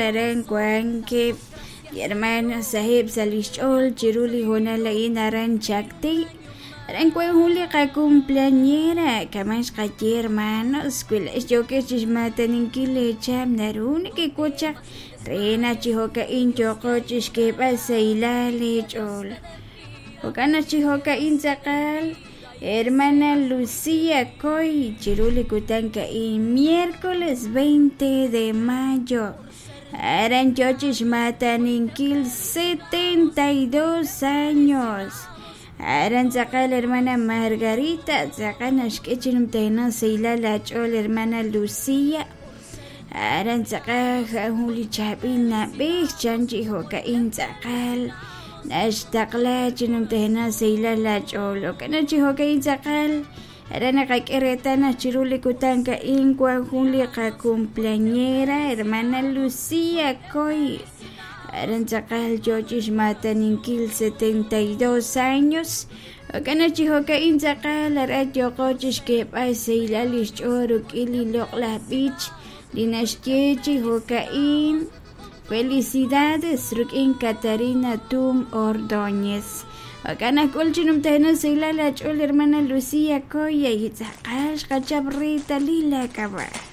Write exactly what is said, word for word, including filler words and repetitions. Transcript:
aran wankeb' li hermana saheb' sa' lix ch'ool chiru li hoonal a'in aran Chacti. Aran wan jun li qacumpleañera kaman xqaye hermanos wi laa'ex yookex chixmaataninkil leecham naru nekewotz chaq re naq chi jo'ka'in yooqo chixk'eeb'al sahilal leech'ool. Jo'kan naq chi jo'ka'in tz'aqal hermana Lucía Coy chiru li kutan ka'in miércoles veinte de mayo aran yoo chixmaataninkil setenta y dos años. Aran tz'aqal hermana Margarita tz'aqal naxk'e chi numtajenaq sahilal ach'ool hermana Lucía. Aran tz'aqal jun li chaab'il nab'ej chan chi jo'ka'in tz'aqal naxtaqla chi numtajenaq sahilal ach'ool. Jo'kan chi jo'ka'in tz'aqal aran naqak'e reetal naq chiru li kutan ka'in wan jun li qacumpleañera hermana Lucía Coy. Aran tz'aqal yoo chixmaataninkil setenta y dos años. Jo'kan chi jo'ka'in tz'aqal aran yooqo chixk'eeb'al sahilal lix ch'ool rik'in li loq'laj b'ich li naxye chi jo'ka'in felicidades rik'in Catarina Tum Ordóñez. Jo'kan naq k'ul chi numtajenaq sahilal ach'ool hermana Lucía Coy y tz'aqal xqachap reetalil la k'ab'a'.